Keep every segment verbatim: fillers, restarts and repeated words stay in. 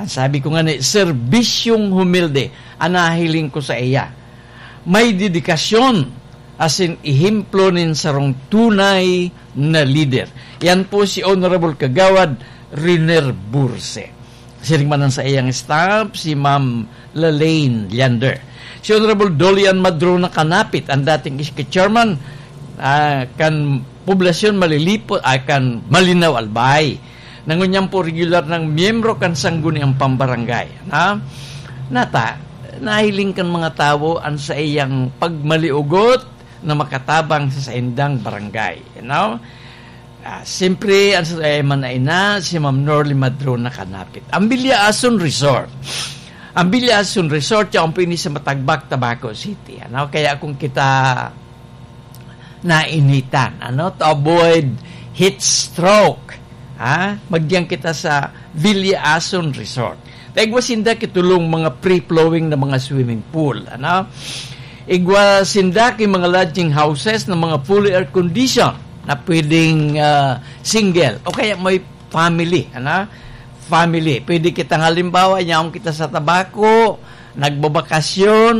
Ang sabi ko nga ni, serbisyong humilde, ang nahiling ko sa iya. May dedikasyon, asin ehemplo nin sarong tunay na lider. Yan po si Honorable Kagawad Riner Burse. Siring man ang sa iyang staff, si Ma'am Lalaine Leander. Si Honorable Dolian Madrona Kanapit, ang dating S K chairman, ah, kan Poblasyon Malilipot, ay kan Malinao Albay. Nangunyan po regular ng miyembro kan Sangguniang Pambarangay. Na, nata, nahiling kan mga tawo ang sa iyang pagmaliugot na makatabang sa saindang barangay. You know? Ah, siyempre, ang sa man na ina, si Ma'am Norly Madrona Kanapit. Ang Villa Asun Resort. Ang Villa Asun Resort, yaon po ini sa Matagbak, Tabaco City. Ano? Kaya kung kita nainitan, ano? To avoid heat stroke, ha? Magdiyan kita sa Villa Asun Resort. Ta igwa sinda ki tulong mga free-flowing na mga swimming pool, ano? Igwa sinda ki mga lodging houses na mga fully air condition na pwedeng, ah, single o kaya may family, ano? Family. Pwede kita, halimbawa, yaon kita sa Tabaco, nagbabakasyon,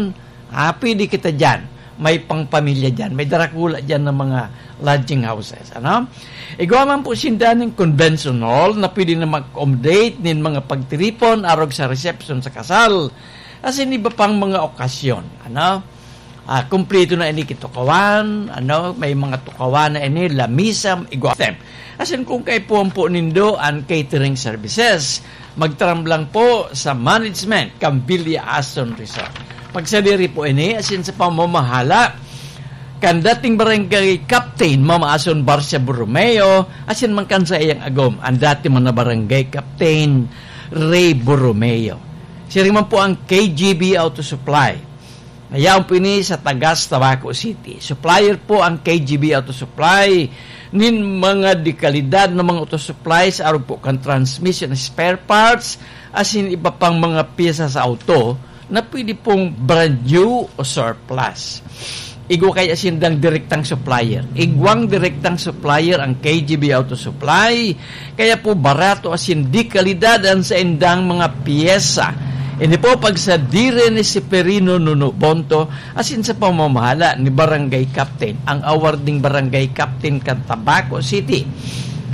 ah, pwede kita diyan. May pangpamilya diyan. May darakula diyan ng mga lodging houses, ano? Igwa man po sinda nin convention hall na pwede na mag-accommodate nin mga pagtiripon arog sa reception sa kasal, asin iba pang mga okasyon, ano? Ah, kumpleto na ini ki tukawan, ano? May mga tukawan na ini, lamisa, igwa. Asin kung kaipuhan po nindo an catering services, magtaram lang po sa management kan Villa Asun Resort. Pagsadiri po ini, asin sa pamamahala kan dating barangay captain, Mama Asun Barcia Borromeo, asin man kan sa iyang agom, ang dati man na barangay captain, Ray Borromeo. Siring man po ang K G B Auto Supply. Yaon po ini sa Tagas, Tabaco City. Supplier po ang K G B Auto Supply nin mga dekalidad na mga auto supplies, arog po kan transmission spare parts, asin iba pang mga pyesa sa auto na pwede pong brand new o surplus. Igwa kaya sindang direktang supplier. Igwang direktang supplier ang K G B Auto Supply, kaya po barato asin de kalidad an saindang mga pyesa. Ini po pagsadiri ni Seferino Nuno Bonto asin sa pamamahala ni Barangay Captain, ang awarding Barangay Captain kan Tabaco City,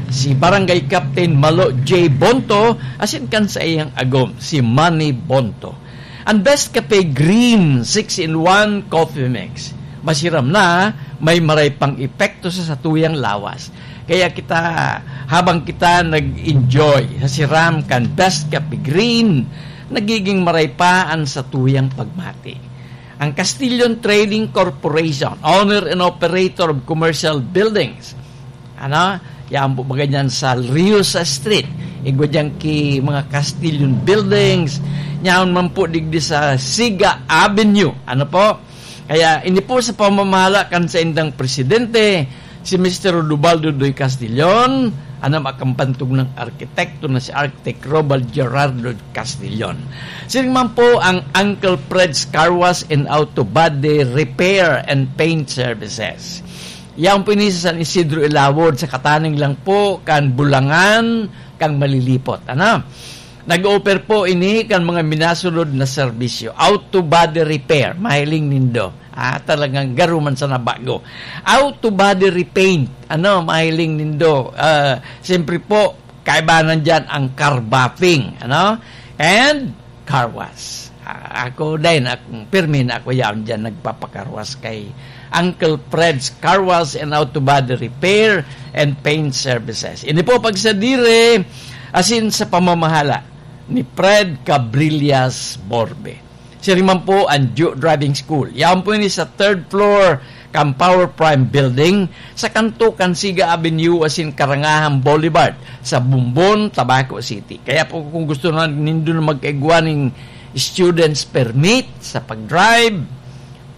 si Barangay Captain Malo J Bonto, asin kan saiyang agom, si Manny Bonto. Ang Best Cafe Green six in one Coffee Mix. Masiram na, may maray pang epekto sa satuyang lawas. Kaya kita, habang kita nag-enjoy sa siram kan Best Cafe Green, nagiging maray pa an satuyang pagmati. Ang Castillon Trading Corporation, owner and operator of commercial buildings, ano, yan po, baga dyan sa Riosa Street. Igwa dyan ki mga Castillon Buildings. Yaon man po digdi sa Siga Avenue. Ano po? Kaya ini po sa pamamahala kan saindang presidente, si Mister Rodobaldo Doy Castillon, ano, makampantog ng arkitekto na si Architect Robald Gerardo Castillon. Siring man po ang Uncle Fred's Car Wash and Auto Body Repair and Paint Services. Yaon po ini sa San Isidro Ilawod, sa kataning lang po kan Bulangan, kan Malilipot. Ano? Nag-offer po ini kan mga minasunod na serbisyo. Auto body repair, mahiling nindo. Ah, talagang garo man sana bago. Auto body repaint, ano, mahiling nindo. Ah, siyempre po, kaibahan dyan ang car buffing, ano? And car wash. Ah, ako din, ak-, pirmi na ako yaon dyan nagpapakarwas kay Uncle Fred's Car Wash and Auto Body Repair and Paint Services. Ini po pagsadiri, asin sa pamamahala ni Fred Cabrillas Borbe. Siring man po ang Joe Driving School. Yaon po ini sa third floor kan Power Prime Building, sa kanto kan Siga Avenue asin Karangahan Boulevard, sa Bombon, Tabaco City. Kaya po, kung gusto na nindo na magkaigwa ning student's permit sa pag-drive,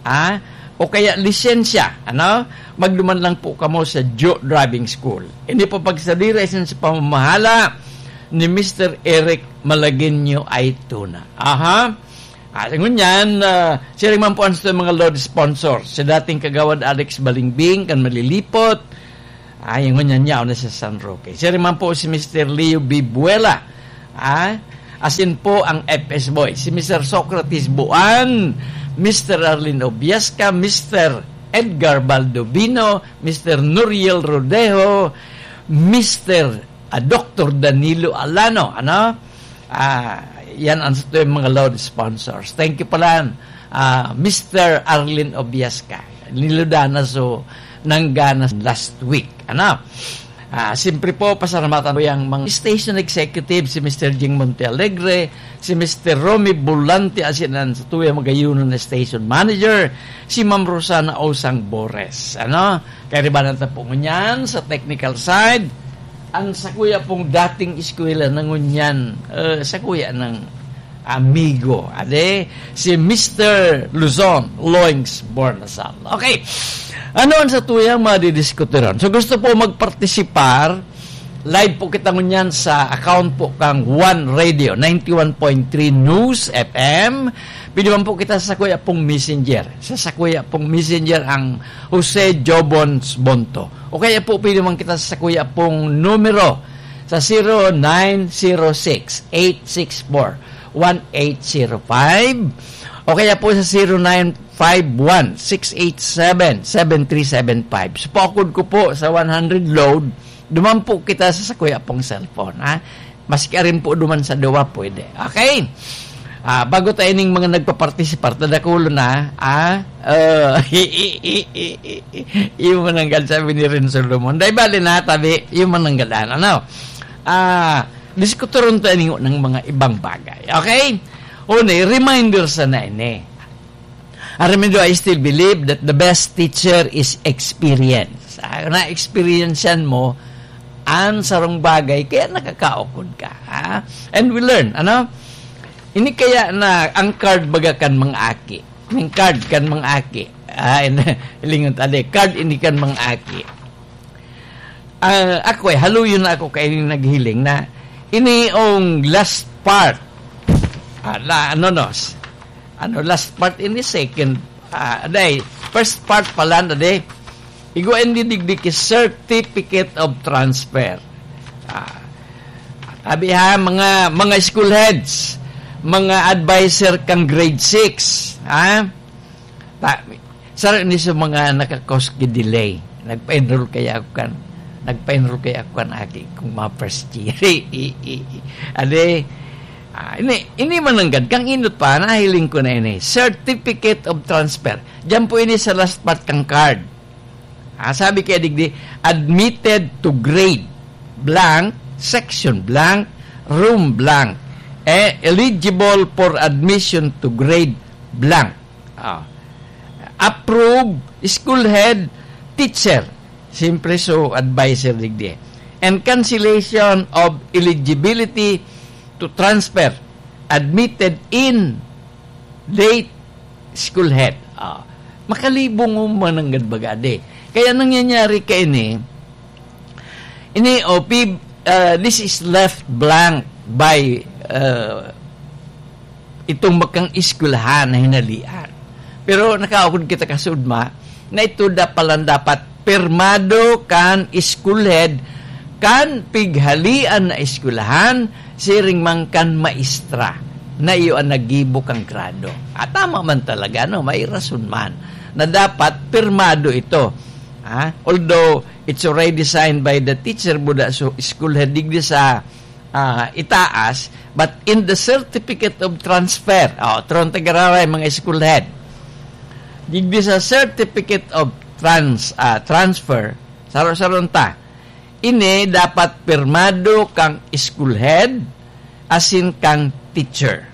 ah, o kaya lisensya, ano, magduman lang po kamo sa Joe Driving School. Ini po pagsadiri asin sa pamamahala ni Mister Eric Malagueño Aituna. Aha. Ah, ngunyan, ah, siring man po ang sa mga Lord sponsor, si dating Kagawad Alex Balingbing kan Malilipot, ay, ngunyan yaon na sa San Roque. Siring man po si Mister Leo Bibuela, ah, Asin po ang F S Boy, si Mister Socrates Buan, Mister Arlene Obiasca, Mister Edgar Baldovino, Mister Nuriel Rodejo, Mister ah, Doktor Danilo Alano, ano? Ah, yan ang sa tuyang mga loud sponsors. Thank you pala, ah, Mister Arlene Obiasca. Niludana so nanggana last week, ano? Ah, siyempre po, pasalamatan ko yung mga station executive, si Mister Jing Montealegre, si Mister Romy Bulante, asin ang sa tuyang magayunan na station manager, si Ma'am Rosana Osang Bores, ano? Kaya ribanan ta po ngunyan sa technical side, ang sakuya pong dating eskwela na ngunyan, eh, sakuya ng amigo, ade, si Mister Luzon, Loings Bornasal. Okay, ano ang sa tuyang madidiskuteron? So gusto po magpartisipar, live po kita ngunyan sa account po kang One Radio, ninety-one point three News F M. Pwede man po kita sa sakuya pong messenger. Sa sakuya pong messenger ang Jose Jobons Bonto. O kaya po, pwede man kita sa sakuya pong numero sa zero nine zero six, eight six four, one eight zero five. O kaya po sa zero nine five one, six eight seven, seven three seven five. So, paukod ko po sa one hundred load, duman po kita sa sakuya pong cellphone, ha? Maski arin po duman sa duwa, pwede. Okay? Ah, bago tayo ning mga nagpapartisipar, tadakulo na, ah, uh, iyo mananggad, sabi ni Ren Solomon. Dai bali na, tabi, iyo mananggad, ano? Ah, diskutoron tayo ning, ng mga ibang bagay. Okay? Una, reminder sa na ini. Aram nindo, I still believe that the best teacher is experience. Ah, na-experiencean mo ang sarong bagay, kaya nakakaukod ka, ha? And we learn, ano? Ini kaya na ang card baga kan mga aki. Ang card kan mga aki. Ah, in-, lingon ta, di, card ini kan mga aki. Ah, ako eh, haluyon na ako kay naghiling na ini ang last part. Ah, la, ano, no, s-, ano, last part ini, second, ah, day, first part pala na, day. Igwa ini digdi ki certificate of transfer. Ah, tabi ha, mga, mga school heads, mga advisor kang grade six, ha? Ta-, saro ni sa mga naka-cause ki delay. Nagpa-enroll kaya ako kan, nagpa-enroll kaya ako kan aki kong mga first year. I, i, i, ade, ah, ini, ini mananggad, kang inot pa, nahiling ko na ini. Certificate of transfer. Diyan po ini sa last part kang card. Ah, sabi kaya digdi, admitted to grade blank, section blank, room blank. Eh, eligible for admission to grade blank. Ah. Approve, school head, teacher. Siyempre, so, advisor digdi. And cancellation of eligibility to transfer. Admitted in date, school head. Ah. Makalibong mo mananggad baga, di. Kaya nangyayari ka ini, ini, o, pib-, ah, this is left blank by, ah, itong makang eskwelahan na hinalian. Pero nakaukod kita kasudma na ito da-, palan dapat pirmado kan school head kan pighalian na eskwelahan, siring man kan maestra na iyo ang naggibo kan grado. At tama man talaga, no? May rason man na dapat pirmado ito. Ha? Although it's already signed by the teacher, buda so school head digdi sa ah, itaas, but in the certificate of transfer, oh, tron tagararay, mga school head. Digdi sa certificate of trans-, ah, transfer, saro-saron ta, ini dapat pirmado kang school head asin kang teacher.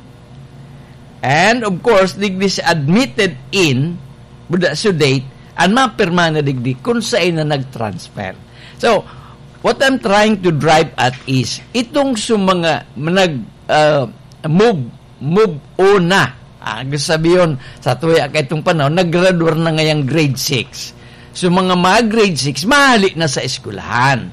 And of course, digdi sa admitted in, buda so date, ang mapirma na digdi kung saan na nag-transfer. So, what I'm trying to drive at is, itong sa mga nag, ah, move, move on na. Ah, gusto sabihin, sa tuya ka itong panahon, naggraduar na ngayang grade six. So, mga, mga grade six, mahali na sa eskwelahan.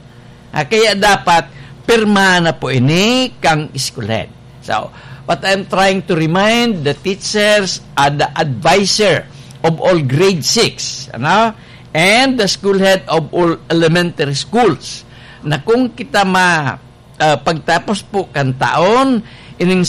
Ah, kaya dapat, pirma na po ini kang school head. So, what I'm trying to remind the teachers and the advisor of all grade six, ano? And the school head of all elementary schools, na kung kita ma-, ah, pagtapos po kan taon, ining